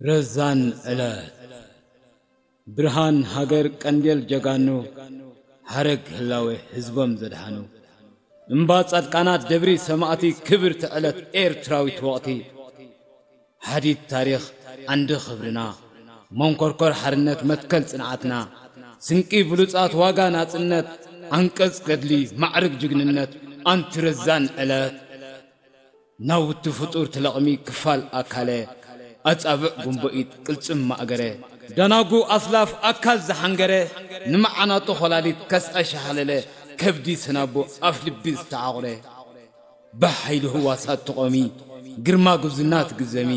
ረዛን ዕለት። ብርሃን ሃገር ቀንዴል ጀጋኑ፣ ሓረግ ህላዌ ህዝቦም ዘድሓኑ፣ እምባ ጻድቃናት ደብሪ ሰማእቲ፣ ክብርቲ ዕለት ኤርትራዊት ወቕቲ። ሓዲድ ታሪኽ ዓንዲ ክብርና፣ መንኮርኮር ሓርነት መትከል ጽንዓትና፣ ስንቂ ብሉጻት ዋጋ ናጽነት፣ ዓንቀጽ ገድሊ ማዕርግ ጅግንነት። ኣንቲ ረዛን ዕለት። ናውቲ ፍጡር ትለቕሚ ክፋል ኣካለ፣ ኣጻብዕ ጉንቦኢት ቅልጽም ማእገረ፣ ደናጉ ኣስላፍ ኣካል ዝሓንገረ፣ ንመዓናጡ ኾላሊት ከስዐ ሸሃለለ፣ ከብዲ ሰናቦ ኣፍ ልቢ ዝተዓቑረ። ብሓይሊ ህዋሳት ትቖሚ፣ ግርማ ጉብዝና ትግዘሚ፣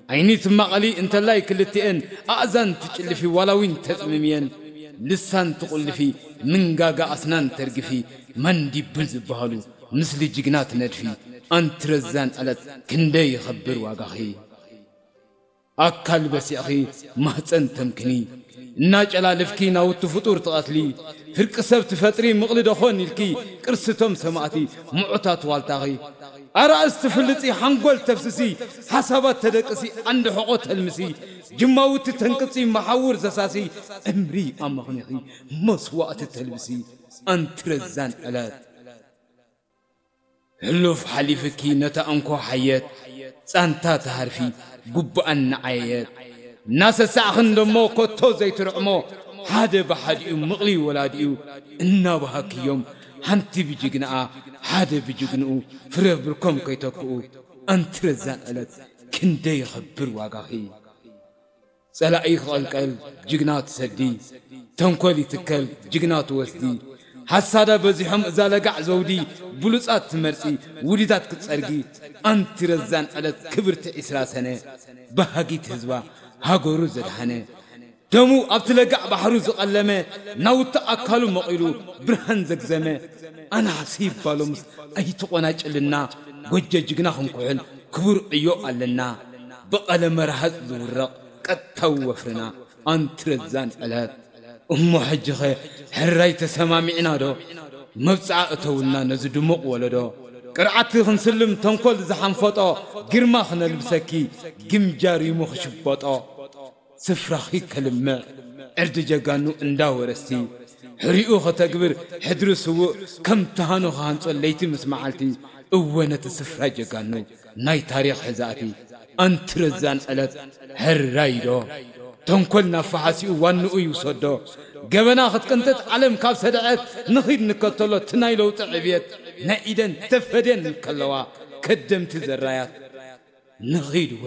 ዓይኒ ትማቐሊ እንተላይ ክልቲኤን፣ ኣእዛን ትጭልፊ ዋላ እውን ተጽምምየን፣ ልሳን ትቑልፊ፣ ምንጋጋ ኣስናን ተርግፊ፣ መንዲብል ዝበሃሉ ምስሊ ጅግና ትነድፊ። ኣንቲ ረዛን ዕለት ክንደይ ይኸብር ዋጋኺ። ኣካል በሲዕኺ ማህፀን ተምክኒ፣ እናጨላለፍኪ ናውቲ ፍጡር ትቐትሊ፣ ፍርቂ ሰብ ትፈጥሪ ምቕሊ ደኾን ኢልኪ፣ ቅርስቶም ሰማእቲ ምዑታት ዋልታኺ። ኣራእስ ትፍልጺ ሓንጎል ተፍስሲ፣ ሓሳባት ተደቅሲ ዓንዲ ሕቖ ተልምሲ፣ ጅማውቲ ተንቅጺ መሓውር ዘሳሲ፣ ዕምሪ ኣመኽኒኺ መስዋእቲ ተልብሲ። ኣንቲ ረዛን ዕለት። ሕሉፍ ሓሊፍኪ ነታ እንኮ ሓየት፣ ጻንታ ተሃርፊ ጉብኣን ንዓየየት። እናሰሳዕኽን ደሞ ኮቶ ዘይትርዕሞ፣ ሓደ ብሓዲኡ ምቕሊ ወላዲኡ እናበሃክዮም፣ ሓንቲ ብጅግንኣ ሓደ ብጅግንኡ፣ ፍረ ብርኮም ከይተክኡ። ኣንቲ ረዛን ዕለት ክንደይ ይኸብር ዋጋኺ። ጸላኢ ክቐልቀል ጅግና ትሰዲ፣ ተንኮል ይትከል ጅግና ትወስዲ። ሓሳዳ በዚሖም እዛ ለጋዕ ዘውዲ፣ ብሉጻት ትመርጺ ውዲታት ክትጸርጊ። ኣንቲ ረዛን ዕለት ክብርቲ ዒስራ ሰነ፣ በሃጊት ህዝባ ሃገሩ ዘድሃነ፣ ደሙ ኣብቲ ለጋዕ ባሕሩ ዝቐለመ፣ ናውቲ ኣካሉ መቒሉ ብርሃን ዘግዘመ። ኣናብሲ ይባሎምስ ኣይትቖናጭልና፣ ጎጆ ጅግና ክንኩሕል ክቡር ዕዮ ኣለና። ብቐለመ ረሃጽ ዝውረቕ ቀጥታዊ ወፍርና። ኣንቲ ረዛን ዕለት። እሞ ሕጂኸ ሕራይ ተሰማሚዕና ዶ? መብጽዓ እተውልና ነዚ ድሙቕ ወለዶ። ቅርዓትኪ ክንስልም ተንኮል ዝሓንፈጦ፣ ግርማ ክነልብሰኪ ግምጃ ሪሙ ክሽበጦ። ስፍራኺ ከልምዕ ዕርዲ ጀጋኑ እንዳ ወረስቲ፣ ሕሪኡ ከተግብር ሕድሪ ስዉእ ከም ተሃኑ ክሃንጾ ለይቲ ምስ መዓልቲ። እወ ነቲ ስፍራ ጀጋኑ ናይ ታሪኽ ሕዛእቲ። ኣንቲ ረዛን ዕለት። ሕራይ ዶ? ተንኮል ናብ ፈሓሲኡ ዋንኡ ይውሰዶ። ገበና ክትቅንጥጥ ዓለም ካብ ሰደዐት፣ ንኺድ ንከተሎ እቲ ናይ ለውጢ ዕብየት። ናይ ኢደን ተፈድየን ከለዋ ከደምቲ ዘራያት። ንኺድ ወ።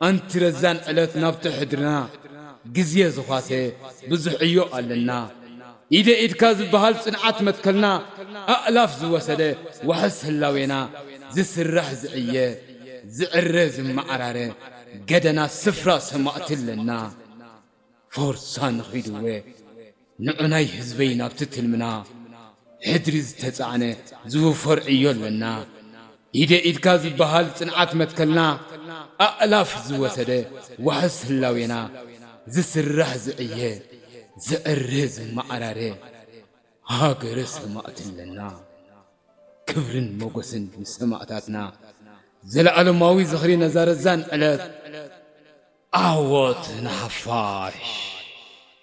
ኣንቲ ረዛን ዕለት ናብቲ ሕድርና፣ ግዜ ዝዃሰ ብዙሕ ዕዮ ኣለና። ኢደ ኢድካ ዝበሃል ጽንዓት መትከልና፣ ኣእላፍ ዝወሰደ ዋሕስ ህላዌና፣ ዝስራሕ ዝዕየ፣ ዝዕረ ዝመዓራረ፣ ገደና ስፍራ ሰማእቲ ኣለና። ፎርሳ ንኺድ ወ። ንዑ ናይ ህዝበይ ናብቲ ትልምና፣ ሕድሪ ዝተጻዕነ ዝውፈር ዕዮ ኣለና። ኢደ ኢድካ ዝበሃል ጽንዓት መትከልና፣ ኣእላፍ ዝወሰደ ዋሕስ ህላዌና፣ ዝስራሕ ዝዕየ፣ ዝዕረ ዝመዓራረ፣ ሃገረ ሰማእቲ ኣለና። ክብርን ሞገስን ንሰማእታትና፣ ዘለኣለማዊ ዝኽሪ ነዛ ረዛን ዕለት። ዓወት ንሓፋሽ።